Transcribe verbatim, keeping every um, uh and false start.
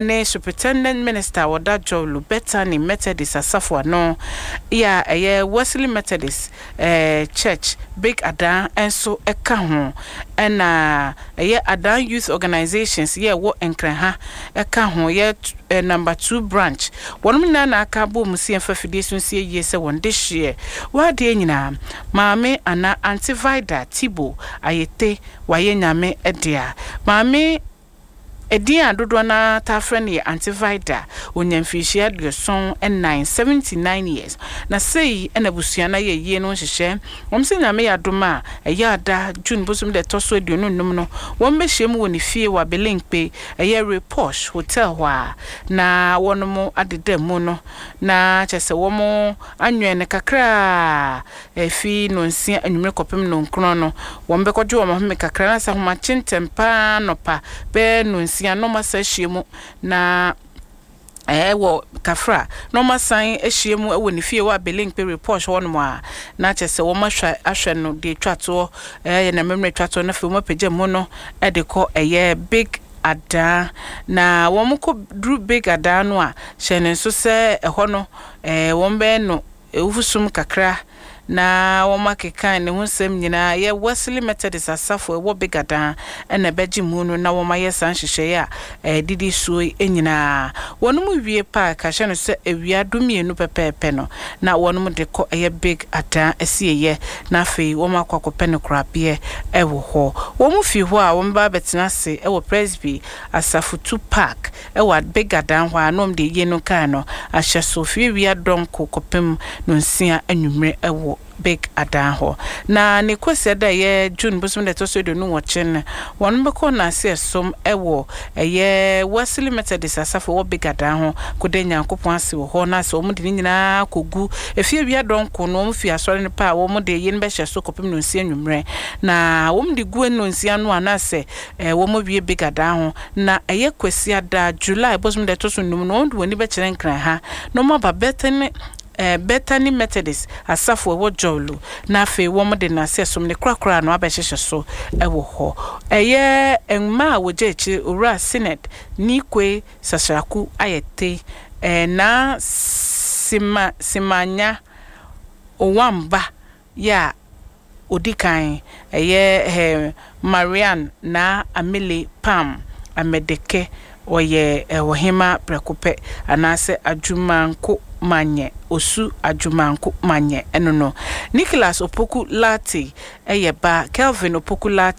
Ne Superintendent Minister a ɔda Dzorwulu Bethany Methodist Asafo ano yi a ɛyɛ Wesley Methodist Church Big Adan nso ka ho. Ɛna ɛyɛ Adan Youth Organisations yɛ ɛwɔ Nkran ha ka ho, yɛ Number Two Branch. Wɔnom nyinaa na aka abɔ mu sɛ yɛmfa fidie so nsie yie sɛ wɔn dehyeɛ wɔ adeɛ nyinaa. Maame anaa Auntie Vida Tibo Ayete wayɛ Nyame dea. Maame. Edin a dodoɔ no ara taa frɛ no yɛ Auntie Vida. Ɔnyaa mfirihyia aduɔson nnan, seventy nine years. Na sei na abusua no ayɛ ayie no nhyehyɛɛ. Wɔn sɛ Nyame yɛ adom a, ɛyɛ ada, June bosom da ɛtɔ so aduonu nnum no, wɔn bɛhyiam wɔ ne fie wɔ Abelenkpe, ɛyɛ Reposh Hotel hɔ a, na wɔnom adeda mu no, na kyerɛ sɛ wɔn anwɛn no kakra a, Efi nnɔnsia anwummere kɔpem nnɔnkron no, wɔbɛkɔgye wɔn ahome kakra na sɛ ahomakye ntɛm pa ara anɔpa bɛyɛ nnɔnsia na wɔasan ahyia mu na ɛwɔ Kafra na wɔasan ahyia mu wɔ ne fie wɔ Abelenkpe Report hɔnom a, na kyerɛ sɛ wɔahwɛ ahwɛ no deɛ ɛtwa toɔ, ɛyɛ n'amammerɛ ɛtwa toɔ na afei wɔapagya mu no de kɔ ɛyɛ Big Adaa. Na wɔkɔduru Big Adaa no a, hyɛ no nso sɛ ɛhɔ no wɔbɛyɛ no Awufosum kakra na wɔakeka ne ho nsɛm nyinaa. Ɛyɛ Wesley Methodist Asafo a ɛwɔ Begadan na ɛbɛgye mu no na wɔayɛ saa nhyehyɛe a ɛdidi soɔ yi nyinaa. Wɔnom wie pɛ a, ka hyɛ no sɛ awia dumienu pɛpɛɛpɛ no na wɔnom de kɔ ɛyɛ Big Adan asieeɛ na afei wɔakɔ akɔpɛ no korabeɛ wɔ hɔ. Wɔn fi hɔ a wɔbɛba abɛtena ase wɔ Presby Asafotu Park wɔ Abega dan hɔ a na wɔde ayie no nkae no ahyɛ so fi awia dɔnko kɔpem nonsia anwummere wɔ Big Adan hɔ. Na ne Kwasiada a ɛyɛ June bosom da ɛtɔ so aduonu nwɔtwe no, wɔn bɛkɔ nnaase ɛsom wɔ ɛyɛ Wesley Methodist Asafo ɛwɔ Big Adan ho kɔda Nyankopɔn ase wɔ hɔ na sɛ wɔn de ne nyinaa kɔgu efie awia dɔnko no wɔn fi asɔre no pɛ a wɔn de ayie no bɛhyɛ so kɔpem nonsia anwummerɛ na wɔn de gu nonsia no a na sɛ Wɔawie Big Adaa ho, na ɛyɛ Kwasiada, July bosom da ɛtɔ so nnum no, wɔde wɔn ani bɛkyerɛ Nkran ha na wɔaba Bethany Bethany Methodist Asafo a ɛwɔ Jowlu, na afei wɔde Nnaase Som no korakora no abɛhyehyɛ so wɔ hɔ. Ɛyɛ mma a wɔgya akyire, Owura Synod Nikwe Sasraku Ayete, Naa Sima Simanya Owamba yɛ a odi kan, ɛyɛ Marianne Naa Amele Pam Amedeke, ɔyɛ ɔhemmaa prɛko pɛ, anaasɛ Adwumanko Manyɛ, Osu Adwumanko Manyɛ, ɛno no. Nicholas Opoku Lartey yɛ ba, Kelvin Opoku Lartey.